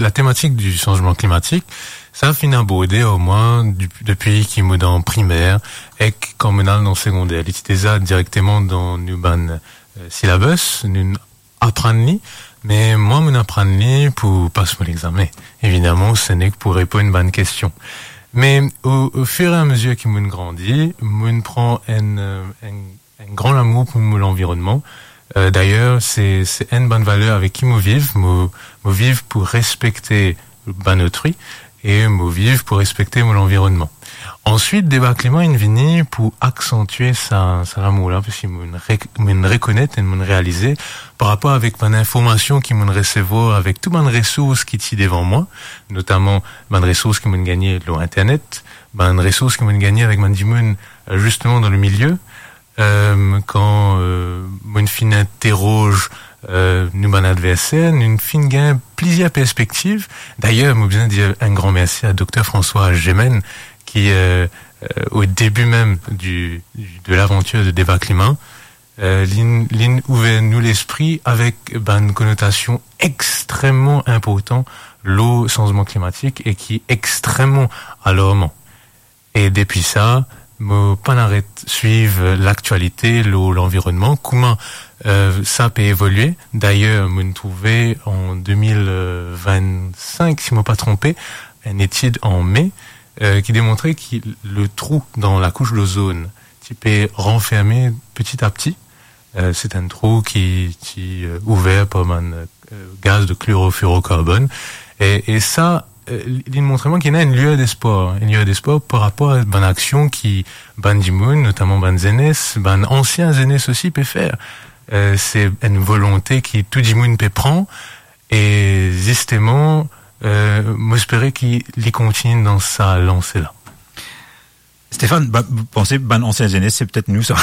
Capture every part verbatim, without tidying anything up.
la tematik di sanzman klimatik, sa finn aborde ar mwa dep-, depi ki mo dan primer, ek kan mo al dan segonder. Li ti deza direkteman dan nou bann, eh, syllabus, nou aprann li, me mwa, mo aprann li pou pas mo lexame. Evidaman, se nek pou reponn bann kestion. Me o, o fir e a mezir ki mo grandi, mo pran enn, eh, enn, enn gran lamour pou mo lanvironnman. Eh, dayer, se, se enn bann valer avek ki mo viv. Mo, mo viv pou respekte bann otrui e mo viv pou respekte mo lanvironnman. Answit, Deba Klima inn vini pou aksantie sa, sa lamour la, parski mo re-, mo rekonet e mo realize par rapor avek bann informasion ki mo resevwar avek tou bann resours ki ti devan mwa, notaman bann resours ki mo gagne lor internet, bann resours ki mo gagne avek bann dimoun, eh, zisteman dan le milie, eh, kan, eh, mo finn interroz, eh, nou bann adverser, nou finn gagn plizier perspektiv. Dayer, mo bizin dir enn gran mersi a Dokter François Gemenne, ki, eh, eh, o debi mem di, di, de lavantir de Deba Klima, eh, linn, linn ouver nou lespri avek bann konotasion extrememan inportan lor sanzman klimatik e ki extrememan alarman. E depi sa, mo pa'nn aret swiv laktialite lor lanvironnman, kouma, eh, sa pe evolie. Dayer, mo trouve an de mil vinn-sink, si mo pa tronpe, enn etid an me, eh, ki demontre ki le trou dan lakous dozone ti pe ranferme peti a peti. Eh, se enn trou ki ti, eh, ouver par bann, eh, gaz de kloroflorokarbonn. E, e sa, eh, li, li montre mwa ki ena enn lier despwar, enn lier despwar par rapor a bann aksion ki bann dimoun, notaman bann zenes, bann ansien zenes osi pe fer. Eh, se enn volonte ki tou dimoun pe pran. E zisteman, eh, mo espere ki li kontigne dan sa lanse la. Stéphane, ba, panse bann ansien zenes, se petet nou sa.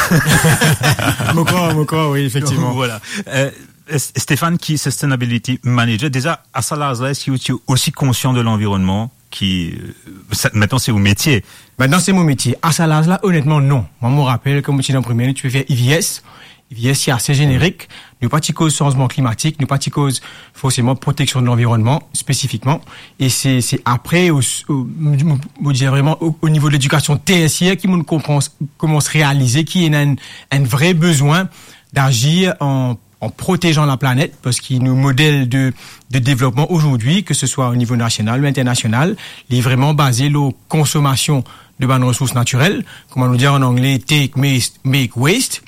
Mo krwar, mo krwar, wi, efektivman. Voilà. Eh, S-, Stéphane, ki sustainability manager, deza, a sa laz la, eski ou ti osi konsian de lanvironnman ki, eh, sa, aster se ou metie? Aster se mo metie. A sa laz la, onetman, non. Mwa, mo rapel, kan mo ti dan primer, nou ti pe fer I V S. I V S, se ase zenerik. Nou pa ti koz sanzman klimatik, nou pa ti koz forseman proteksion de lanvironnman spesifikman. E se, se apre, o, o, mo, mo, mo dir vreman, o, o nivo de ledikasion tersier ki mo konpran, koumans realize ki ena enn, enn vre bizin d'azir an, an protezan laplanet, parski nou model de, de devlopman azordi, ke se swa o nivo nasional ou internasional, li vreman baze lor konsomasion de bann resours natirel, kouma nou dir an angle, take, make, make waste.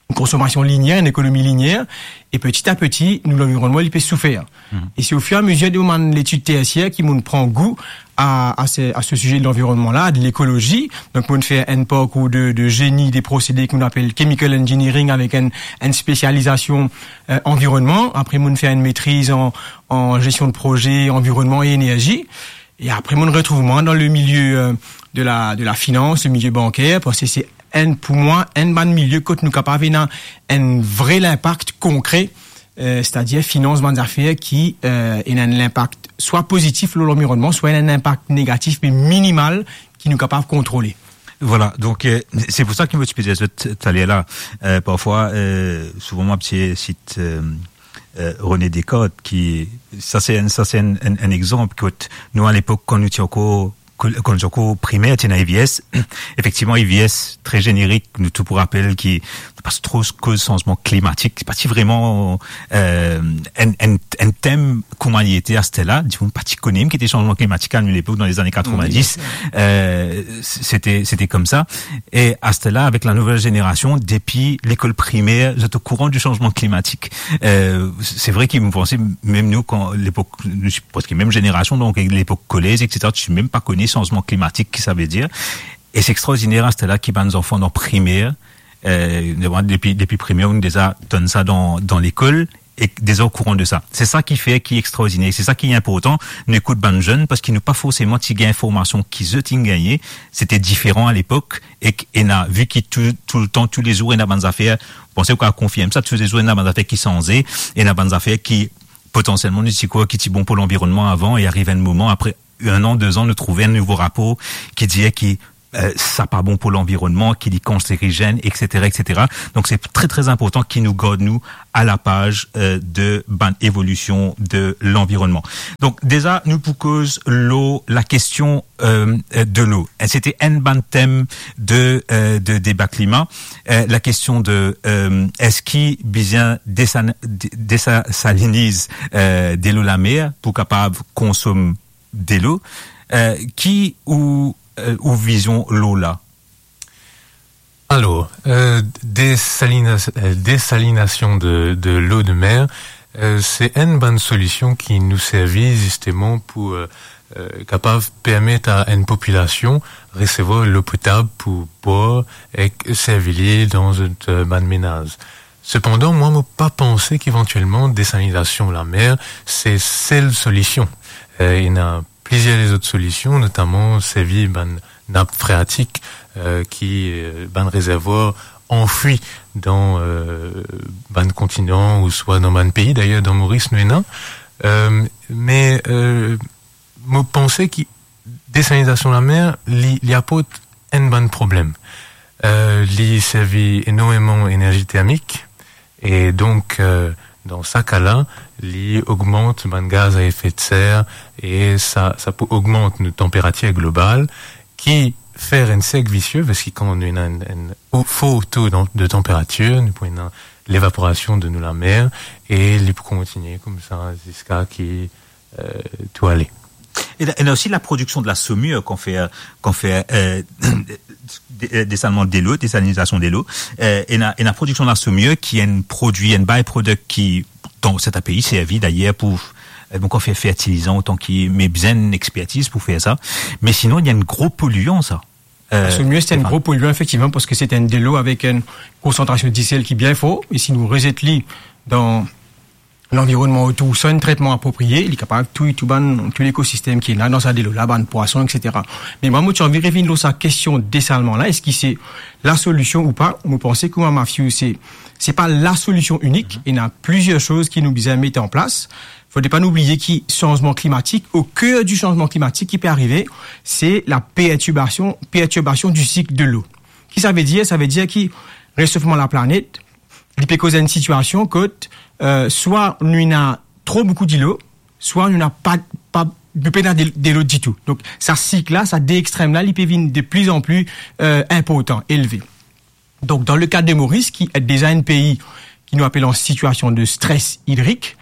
Enn konsomasion linier, enn ekonomi linier, e peti a peti, nou lanvironnman, li pe soufer. Mhm. E se ofir e amezir de mo bann letid tersier ki mo pran gou a, a se, a se size de lanvironnman la, de lekolozi. Donk, mo fer enn parkour de, de zeni de prosede ki nou apel chemical engineering avek enn, enn spesializasion, eh, anvironnman. Apre, mo fer enn metriz an, an zestion de proze, anvironnman e enerzi. E apre, mo retrouv mwa dan le milie, eh, de la, de la finans, le milie banker, parski se enn, pou mwa, enn bann milie kot nou kapav ena enn vre linpak konkre, eh, setadir finans bann zafer ki, eh, ena enn linpak swa pozitif lor lanvironnman, swa ena enn linpak negatif, me minimal, ki nou kapav kontrole. Voilà, donk, eh, se pou sa ki mo ti pe dir zot taler la, eh, parfwa, eh, souvan mo ti sit, eh, eh, René Descartes, ki, sa se enn, sa se enn, enn, enn exanp kot nou, a lepok, kan nou ti ankor, kan nou ti ankor primer, ti ena I V S. Efektivman, I V S, tre zenerik, nou tou pou rapel ki pa tro koz sanzman klimatik, se pa ti vreman, eh, enn, enn, enn tem kouma li ete aster la, dimoun pa ti kone ki ete sanzman klimatik a nou lepok, dan lezane katrovindis. Wi. Eh, se te, se te koumsa. E aster la, avek la nouvel zenerasion, depi lekol primer, zot okouran di sanzman klimatik. Eh, se vre ki mo panse, mem nou, kan lepok, nou ti preske mem zenerasion, donk lepok kolez, et cetera, ti mem pa kone sanzman klimatik, ki sa ve dir. E se extraordiner, aster la, ki bann zanfan dan primer, eh, depi, depi primer, nou deza donn sa dan, dan lekol, e deza okouran de sa. Se sa ki fer ki extraordiner, se sa ki inportan. Nou ekout bann zenn, parski nou pa forseman ti gagn formasion ki zot inn gagne, se te diferan a lepok, ek ena, vi ki tou, toultan, toulezour, ena bann zafer, panse ou kapav konfirm sa, toulezour ena bann zafer ki sanze, ena bann zafer ki, potansielman, nou ti krwar ki ti bon pou lanvironnman avan, e ariv enn moman, apre enn an, de zan, nou trouv enn nouvo rapor ki dir ki euh, sa pa bon pou lanvironnman, ki li kanserizenn, et cetera, et cetera. Donk, se tre, tre inportan ki nou gard nou a la paz, euh, de bann evolision de lanvironnman. Donk, deza, nou pou koz lor lakestion, euh, euh, delo. E sete enn bann tem de, euh, de deba klima. Euh, lakestion de, euh, eski bizin desan-, de-, desaliniz, euh, delo lamer pou kapav konsom delo, euh, ki ou, euh, ou vizion lor la? Alor, euh, desalina-, euh, desalinasion de, de lo de mer, euh, se enn bann solision ki nou servi zisteman pou, euh, euh, kapav permet a enn popilasion resevwar lo potab pou bwar ek servi li dan zot, euh, bann menaz. Sepandan, mwa, mo pa panse ki evantielman desalinasion lamer se sel solision. Euh, ena plizier lezot solision, notaman servi bann nap freatik, euh, ki, euh, bann rezervwar anfwi dan, euh, bann kontinan ouswa dan bann pei. Dayer, dan Moris, nou ena. Euh, me, euh, mo panse ki desalinizasion lamer, li, li aport enn bann problem. Euh, li servi enormeman enerzi termik, e donk, euh, dan sa ka la, li ogmant bann gaz a efe de ser, e sa, sa pou ogmant nou tanperatir global, ki fer enn serk visie, parski kan nou ena enn, enn o-, for to dan, de tanperatir, nou pou ena levaporasion de nou lamer, e li pou kontinie koumsa ziska ki, euh, tou ale. Ena, ena osi laprodiksion de la saumure kan fer, kan fer, euh, de-, euh, desalman delo, desalinizasion delo. Euh, ena, ena prodiksion de la saumure ki enn prodwi, enn by-product ki, dan sertin pei, servi dayer pou, euh, bon, kan fer fertilizan, otan ki, me bizin enn expertiz pou fer sa. Me sinon, li enn gro polian, sa. Euh, La saumure, se enn gro polian, efektivman, parski se enn delo avek enn konsantrasion disel ki bien for, e si nou rezet li dan lanvironnman otour san enn tretman aproprie, li kapav touy tou bann, tou lekosistem ki ena dan sa delo la, bann pwason, et cetera. Me mwa, mo ti anvi revinn lor sa kestion desalman la, eski se lasolision ou pa? Mo panse kouma Mafiou, se, se pa lasolision inik, ena plizier soz ki nou bizin met an plas. Fode pa nou bliye ki sanzman klimatik, o ker di sanzman klimatik ki pe arive, se la pertirbasion, pertirbasion di sik de lo. Ki sa ve dir? Sa ve dir ki resofman laplanet, li pe koz enn sitiasion kot, euh, swa nou ena tro boukou dilo, swa nou ena pa, pa, nou pena de, delo ditou. Donk, sa sik la, sa de extrem la, li pe vinn de pli an pli, euh, inportan, elve. Donk, dan le ka de Moris, ki deza enn pei ki nou apel an sitiasion de stres idrik,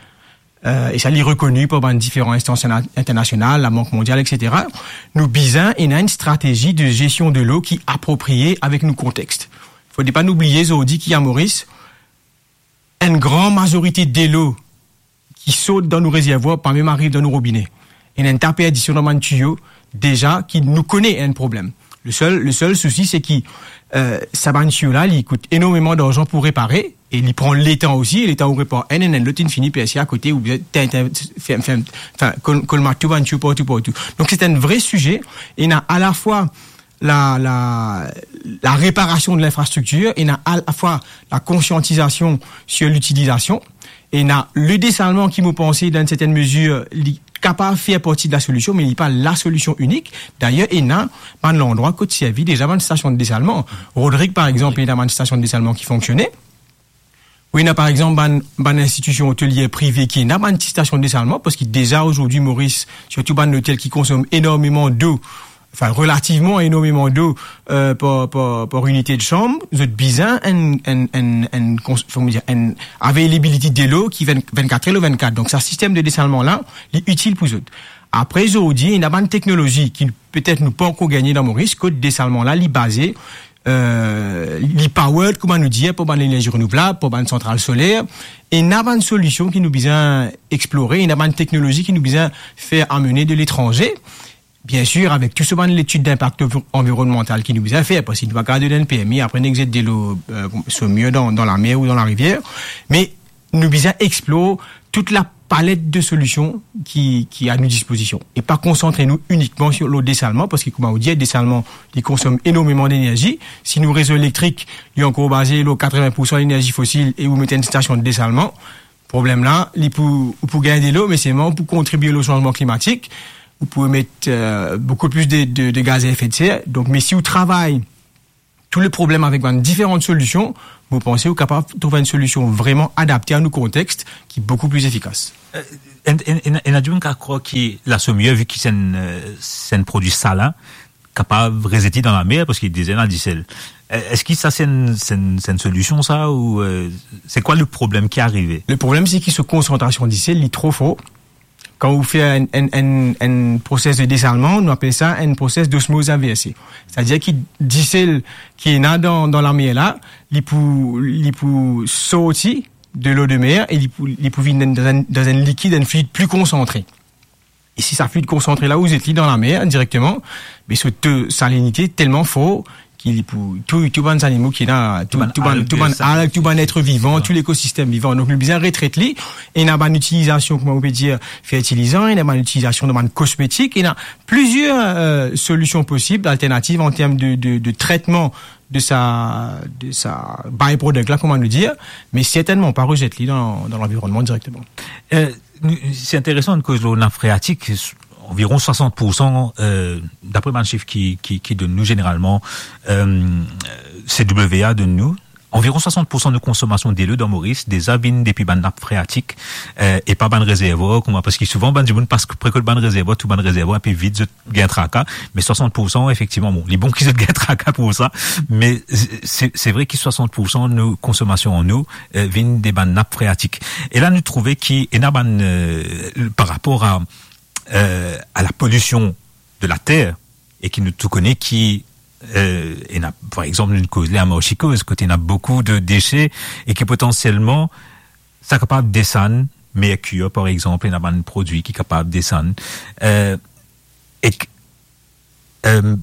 euh, e sa li rekoni par bann diferan instans interna-, internasional, Labank Mondial, et cetera, nou bizin ena enn stratezi de zestion de lo ki aproprie avek nou kontex. Fode pa nou bliye zordi ki a Moris, enn gran mazorite delo ki sort dan nou rezervwar pa mem ariv dan nou robine. Ena enn ta perdision dan bann tiyo, deza ki nou kone enn problem. Le sel, le sel sousi, se ki, euh, sa bann tiyo la, li kout enormeman larzan pou repare, e li pran letan osi, e letan ou repar enn, enn, enn lot inn fini perse akote, oubien, tin, tin, fer, fer, anfin, kol-, kolmat tou bann tiyo partou, partou. Donk, se enn vre size, ena alafwa la, la, la réparasion de l'infrastructure, ena alafwa la konsiantizasion sur l'utilizasion, ena le desalman ki, mo panse, dan enn sertenn mezir, li kapav fer parti de lasolision, me li pa lasolision inik. Dayer, ena bann landrwa kot servi deza bann stasion de desalman. Rodrig, par exanp, ena bann stasion de desalman ki fonksione. Wi, ena par exanp bann, bann institision otelier prive ki ena bann ti stasion de desalman, parski deza azordi Moris, sirtou bann lotel ki konsom enormeman dlo, anfin, relativman enormeman dlo, euh, par, par, par inite de sanm, zot bizin enn, enn, enn, enn kons-, kouma dir, enn availability delo ki vinn, vinn-kat er lor vinn-kat. Donk, sa sistem de desalman la, li itil pou zot. Apre, zordi, ena bann teknolozi ki petet nou pa ankor gagne dan Moris, kot desalman la, li baze, euh, li powered, kouma nou dir, par bann lenerzi renouvlab, par bann santral soler. Ena bann solision ki nou bizin explore, ena bann teknolozi ki nou bizin fer amene de letranze. Biensir, avek tou so bann letid dinpak anvi-, anvironmantal ki nou bizin fer, parski nou pa kapav donn enn permi, apre nou zet delo, euh, so mir dan, dan lamer ou dan larivier. Me nou bizin explor tout lapalet de solision ki, ki a nou dispozision. E pa konsantre nou inikman sir, lor desalman, parski, kouma ou dir, desalman, li konsom enormeman lenerzi. Si nou rezo elektrik, li ankor baze lor katrevin poursan lenerzi fosil e ou met enn stasion de desalman, problem la, li pou, ou pou gagn delo, me selman ou pou kontribie lor sanzman klimatik. ou pou emet, euh, boukou plis de, de, de gaz a efet de ser. Donk, me si ou travay tou le problem avek bann diferan solision, mo panse ou kapav trouv enn solision vreman adapte a nou kontext, ki boukou plis efikas. Euh, ena, ena, ena dimoun ki krwar ki laso miye, vi ki se enn, euh, se enn prodwi sal, kapav rezet li dan lamer, parski deza ena disel. Euh, eski sa se enn, se enn, se enn solision sa, ou, euh, se kwa le problem ki arive? Le problem, se ki so konsantrasion disel, li tro for. Kan ou fer enn, enn, enn, enn proses de desalman, nou apel sa enn proses d'osmoz inverse. Setadir ki disel ki ena dan, dan lamer la, li pou, li pou sorti de lo de mer e li pou, li pou vinn dan enn, dan enn likid, enn fluid pli konsantre. E si sa fluid konsantre la, ou zet li dan lamer direkteman, me so to salinite telman for ki li pou tou, tou bann zanimo ki ena, tou, tou bann, tou bann alg, tou bann et vivan, tou lekosistem vivan. Donk, nou bizin retret li. Ena bann itilizasion, kouma ou pe dir, fertilizan, ena bann itilizasion dan bann kosmetik, ena plizier, euh, solision posib, alternativ an term de, de, de tretman de sa, de sa byproduct la, kouma nou dir, me sertennman pa rezet li dan, dan lanvironnman direkteman. Euh, nou, se interesan, nou koz lor nap freatik, anviron swasant poursan, euh, dapre bann sif ki, ki, ki donn nou zeneralman, euh, C W A donn nou, anviron swasant poursan nou konsomasion delo dan Moris deza vinn depi bann nap freatik, euh, e pa bann rezervwar, kouma, parski souvan bann dimoun pas pre kot bann rezervwar, tou bann rezervwar inpe vid, zot gagn traka, me swasant poursan, efektivman, bon, li bon ki zot gagn traka pou sa, me se, se vre ki swasant poursan nou konsomasion an nou, euh, vinn de bann nap freatik. E la, nou trouve ki ena bann, euh, par rapor a, euh, a la polision de la ter, e ki nou tou kone ki, euh, ena, par exanp, nou koz la a Marsi Koz, kot ena boukou de dese, e ki potansielman, sa kapav desann merkir, par exanp, ena bann prodwi ki kapav desann. Euh, ek, euh,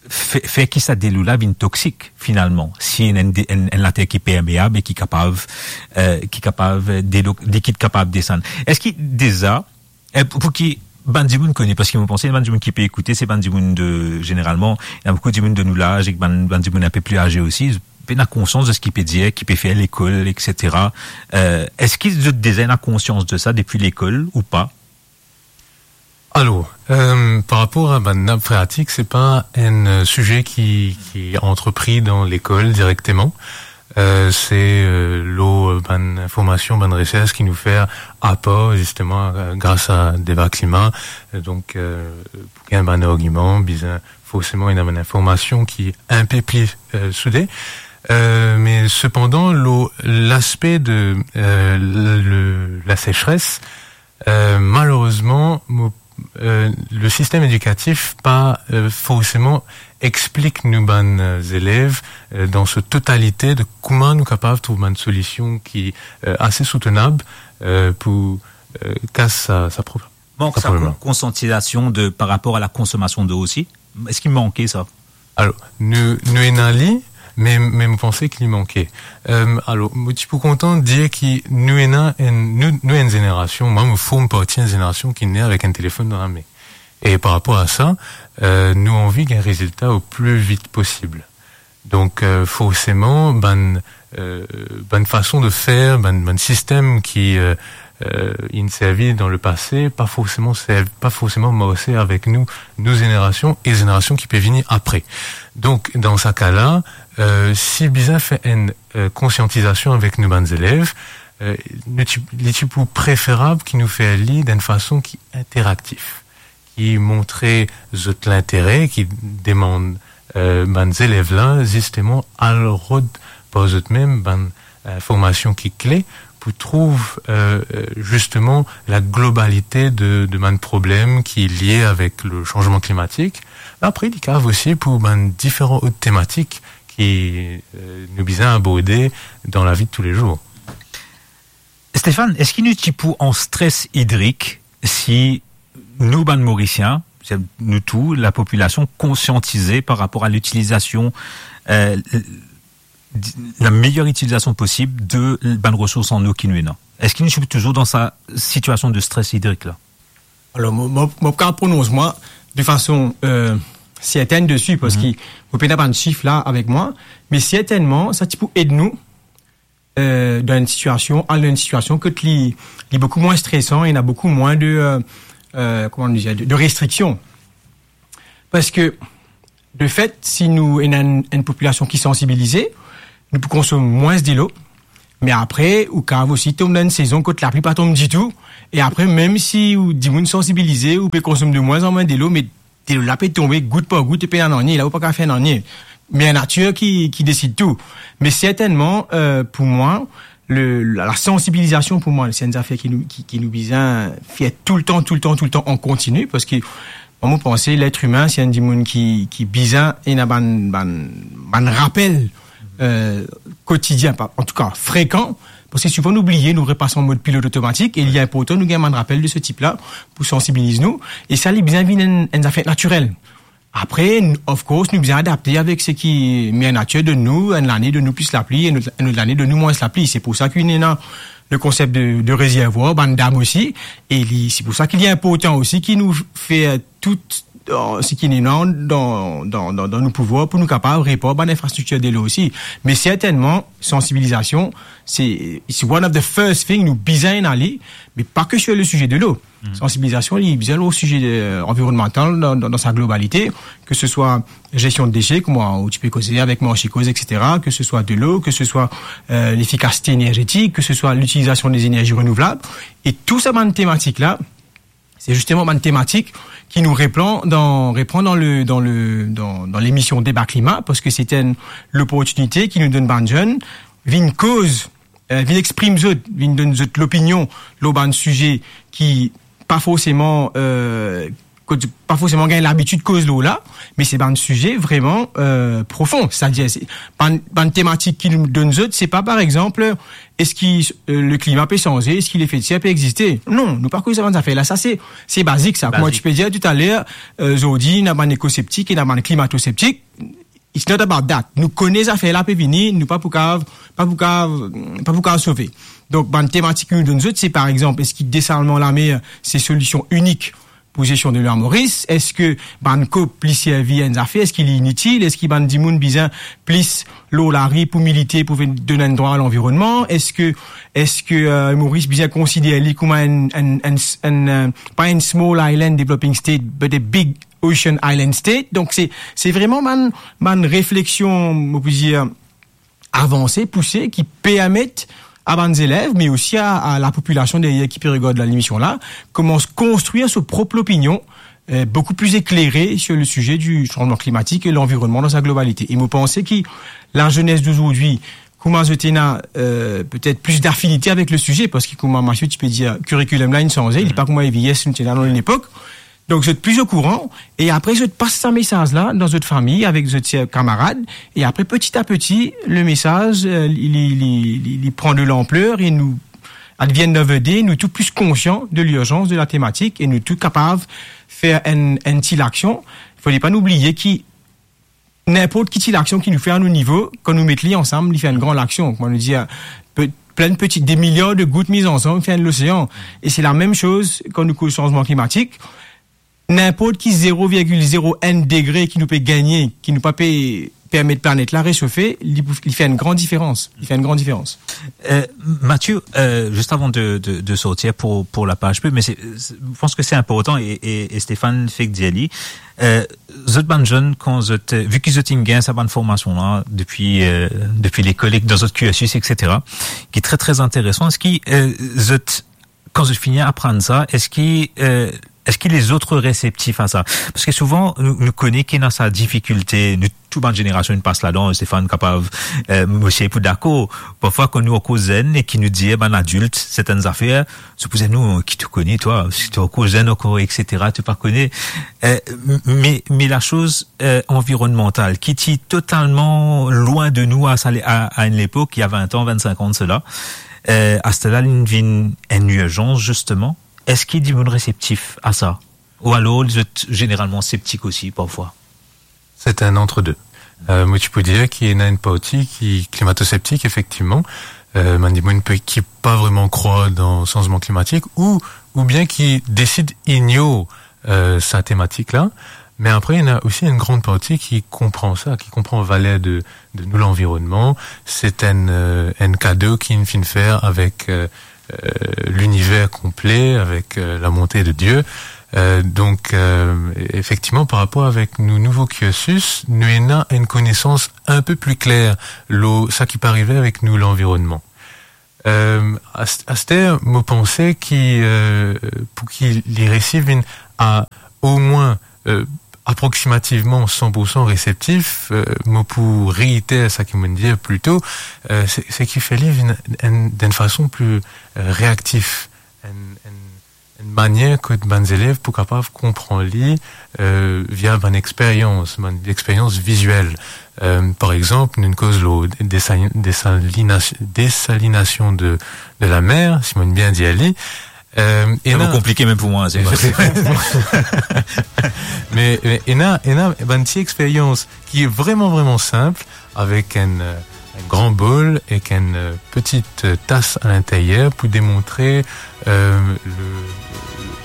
fer, fer ki sa delo la vinn toksik, finalman, si ena enn, enn, enn later ki permeab e ki kapav, euh, ki kapav, delo likid kapav desann. Eski deza, euh, pou, pou ki bann dimoun kone, parski mo panse bann dimoun ki pe ekoute, se bann dimoun de, zeneralman, ena boukou dimoun de nou laz, ek bann, bann dimoun inpe pli aze osi, pena konsians de seki pe dir, ki pe fer lekol, et cetera. Euh, eski zot deza ena konsians de sa depi lekol ou pa? Alor, euh, par rapor a bann nap freatik, se pa enn, euh, size ki, ki antrepri dan lekol direkteman. Euh, se, euh, lor, euh, bann informasion, bann resers ki nou fer apar, zisteman, euh, gras a Deba Klima. Euh, donk, euh, pou gagn bann argiman, bizin forseman ena bann informasion ki inpe pli, euh, soude. Euh, me sepandan, lor laspe de, euh, le, le, la sesres, euh, malerezman, mo, euh, le sistem edikatif pa, euh, forseman explik nou bann, euh, zelev, euh, dan so totalite de kouma nou kapav trouv bann solision ki, euh, ase soutenab, euh, pou, euh, kas sa, sa problem. Mank sa, sa problem la. Kon-, konsiantizasion de, par rapor a la konsomasion delo osi. Eski manke sa? Alor, nou, nou ena li, me, me mo panse ki li manke. Euh, alor, mo ti pou kontan dir ki nou ena enn, nou, nou enn zenerasion, mwa mo form parti enn zenerasion ki ne avek enn telefonn dan lame. E par rapor a sa, euh, nou anvi gagn rezilta o pli vit posib. Donk, euh, forseman, bann, euh, bann fason de fer, bann, bann sistem ki, euh, euh, inn servi dan lepase, pa forseman serv-, pa forseman marse avek nou, nou zenerasion e zenerasion ki pe vini apre. Donk, dan sa ka la, euh, si bizin fer enn, euh, konsiantizasion avek nou bann zelev, euh, nou ti, li ti pou preferab ki nou fer li dan enn fason ki interaktif, ki montre zot lintere, ki demann, euh, bann zelev la, zisteman, al rod par zot mem bann, euh, informasion ki kle pou trouv, euh, euh, zisteman la globalite de, de bann problem ki lie avek le sanzman klimatik. Apre, li kapav osi pou bann diferan lot tematik ki, euh, nou bizin aborde dan lavi de toulezour. Stéphane, eski nou ti pou an stres idrik si nou bann Morisien, se nou tou, lapopilasion konsiantize par rapor a litilizasion, euh, la meyer itilizasion posib de bann resours an nou ki nou ena? Eski nou ti pou touzour dan sa sitiasion de stres idrik la? Alor, mo, mo, mo pa kapav pronons mwa de fason, euh, sertenn desi, parski mo pena bann sif la avek mwa, me sertennman, sa ti pou ed nou, euh, dan enn sitiasion, al dan enn sitiasion kot li, li boukou mwin stresan, ena boukou mwin de, euh, euh, kouma nou dir, de, de restriksion. Parski, de fet, si nou ena enn, enn popilasion ki sansibilize, nou pou konsom mwins delo, me apre, ou kav osi tom dan enn sezon kot lapli pa tom ditou, e apre, mem si ou dimoun sansibilize, ou pe konsom de mwins an mwins delo, me delo la pe tonbe gout par gout, e pena nanye, la ou pa kav fer nanye. Me natir ki, ki desid tou. Me sertennman, euh, pou mwa, le, la, la sansibilizasion pou mwa, se enn zafer ki nou, ki, ki nou bizin fer toultan, toultan, toultan an kontini, parski mwa, mo panse, letr imin, se enn dimoun ki, ki bizin ena bann, bann, bann rapel, euh, kotidien, pa, antouka, frekan, parski souvan nou bliye, nou repas an mod pilot otomatik, e li inportan nou gagn bann rapel de se tip la pou sansibiliz nou, e sa, li bizin vinn enn, enn zafer natirel. Apre, n-, of course, nou bizin adapte avek seki mer natir donn nou, enn lane donn nou plis lapli, enn lot, enn lot lane donn nou mwins lapli. Se pou sa ki ena le konsep de, de rezervwar, bann dam osi, e li, se pou sa ki li inportan osi ki nou fer tou, euh, seki nou ena dan, dan, dan, dan nou pouvwar pou nou kapav repar bann infrastriktir delo osi. Me sertennman, sansibilizasion, se, it's one of the first thing nou bizin ena li, me pa ke sur le size delo. Sansibilizasion, li bizin lor size, euh, anvironmantal dan, dan, dan sa globalite, ke se swa zestion de dese, kouma ou ti pe koze avek Marchi Koz, et cetera, ke se swa delo, ke se swa, euh, lefikasite enerzetik, ke se swa litilizasion de zenerzi renouvlab. E tou sa bann tematik la, se zisteman bann tematik ki nou repran dan, repran dan le, dan le, dan, dan lemision Deba Klima, parski se enn loportinite ki nou donn bann zenn vinn koz, euh, vinn exprim zot, vinn donn zot lopinion lor bann size ki pa forseman, euh, kot pa forseman gagn labitid koz lor la, me se bann size vreman, euh, profon. Setadir, se bann, bann tematik ki nou donn zot, se pa, par exanp, eski, euh, le klima pe sanze, eski lefe de ser pe existe. Non, nou pa koz sa bann zafer la. Sa, se, se bazik, sa. Kouma ti pe dir taler, euh, zordi, ena bann ekoseptik, ena bann klimatoseptik. It's not about that. Nou kone zafer la pe vini, nou pa pou kav, pa pou kav, pa pou kav sove. Donk, bann tematik ki nou donn zot, se, par exanp, eski desalman lamer, se solision inik pou zestion delo Moris? Eski bann COP, li servi enn zafer? Eski li initil? Eski bann dimoun bizin plis lor lari pou milite, pou vinn donn enn drwa a lanvironnman? Eski, eski, euh, Moris bizin konsider li kouma enn, enn, enn, enn, euh, pa enn small island developing state, but a big ocean island state? Donk, se, se vreman bann, bann refleksion, mo pou dir, avanse, pouse, ki permet a bann zelev, me osi a, a lapopilasion deryer ki pe regard lemision la, koumans konstrir so prop lopinion, euh, boukou pli eklere sur le size di sanzman klimatik e lanvironnman dan sa globalite. E mo panse ki lazenes dozordi, kouma zot ena, euh, petet plis dafinite avek le size, parski kouma Mathieu ti pe dir, kirikulem la inn sanze, li pa kouma EVS nou ti ena dan lepok. Donk, zot pli okouran, e apre, zot pas sa mesaz la dan zot fami, avek zot, euh, kamarad, e apre, peti a peti, le mesaz, euh, li, li, li, li, li pran de lanpler, e nou, at the end of the day, nou tou plis konsian de lirzans de la tematik, e nou tou kapav fer enn, enn ti laksion. Fode pa nou bliye ki ninport ki ti laksion ki nou fer a nou nivo, kan nou met li ansam, li fer enn gran laksion. Kouma nou dir, pe-, plin peti, de miliar de gout miz ansam fer enn losean. E se lamem soz kan nou koz sanzman klimatik. Ninport ki zero virgil zero enn degre ki nou pe gagne, ki nou pa pe permet planet la resofe, li pou, li fer enn gran diferans. Li fer enn gran diferans. Euh, Mathieu, euh, zis avan de, de, de sortir pou, pou la paz pib, me se, se, je pense que c'est important e, e, e Stéphane fek dir li, euh, zot bann zenn, kan zot, euh, vi ki zot inn gagn sa bann formasion la depi, euh, depi lekol ek dan zot cursus, et cetera, ki tre, tre interesan, eski, euh, zot, kan zot fini aprann sa, eski, euh, eski lezot reseptif a sa? Parski souvan, nou, nou kone ki ena sa difikilte, nou, tou bann zenerasion inn pas ladan, Stéphane kapav, euh, mo sir pou dakor. Parfwa, kan nou ankor zenn e ki nou dir bann adilt sertenn zafer, zot pou dir, "Non, ki to kone, twa? Si to ankor zenn ankor, et cetera, to pa kone." Euh, m-, me, me lasoz, euh, anvironnmantal, ki ti totalman lwin de nou a sa le-, a, a enn lepok, il y a vingt ans, vingt-cinq ans de cela, euh, aster la, li vinn enn irzans, zisteman. Eski dimoun reseptif a sa? Ou alor, zot zeneralman septik osi, parfwa? C'est un entre-deux. Euh, mo ti pou dir ki ena enn parti ki klimatoseptik, efektivman. Euh, bann dimoun pe, ki pa vreman krwar dan sanzman klimatik ou, oubien ki desid ignor, euh, sa tematik la. Me apre, ena osi enn gran parti ki konpran sa, ki konpran valer de, de nou lanvironnman. C'est enn, euh, enn kado ki nou finn fer avek, euh, euh, liniver konple, avek, euh, la bonte de Dieu. Euh, donk, euh, efektivman, par rapor avek nou nouvo kirsis, nou ena enn konesans inpe pli kler lor sa ki pe arive avek nou lanvironnman. Euh, ast-, aster, mo panse ki, euh, pou ki li resi vinn a omwin, euh, aproksimativman san pour san reseptif, euh, mo pou reiter sa ki mo'nn dir pli to, euh, se, se ki fer li vinn enn, dan enn fason pli, euh, reaktif, enn, enn, enn manier kot bann zelev pou kapav konpran li, euh, via bann experyans, bann experyans viziel. Euh, par exanp, nou koz lor desa-, desalina-, desalinasion de, de lamer, si mo'nn bien dir li. Euh, Se ena konplike mem pou mwa, se vre. Me, me ena, ena bann ti experyans ki vreman, vreman sinp, avek enn, euh, enn gran bol ek enn, euh, peti, euh, tas a linteryer pou demontre, euh, le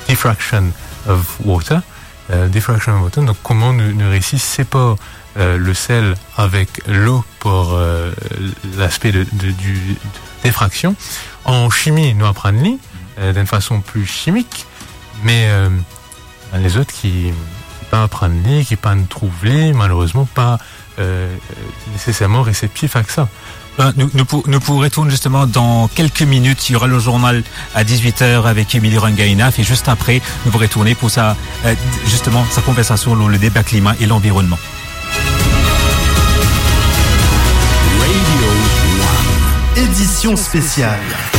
diffraction of water. Euh, diffraction of water, donk kouma nou, nou resi separ, euh, le sel avek lo par, euh, laspe de, de, di, defraksion. An simi, nou aprann li, euh, dan enn fason pli simik, me, euh, lezot ki, ki pa aprann li, ki pa'nn trouv li, malerezman pa, euh, neseserman reseptif a sa. Ben, nou, nou pou, nou pou retourn zisteman dan kelke minit. Il y aura le journal à dix-huit heures avec Émilie Rangaina. Et juste après, nou pou retourn pou sa, euh, zisteman, sa konversasion lor le deba klima e lanvironnman. Radio One. Édition spéciale.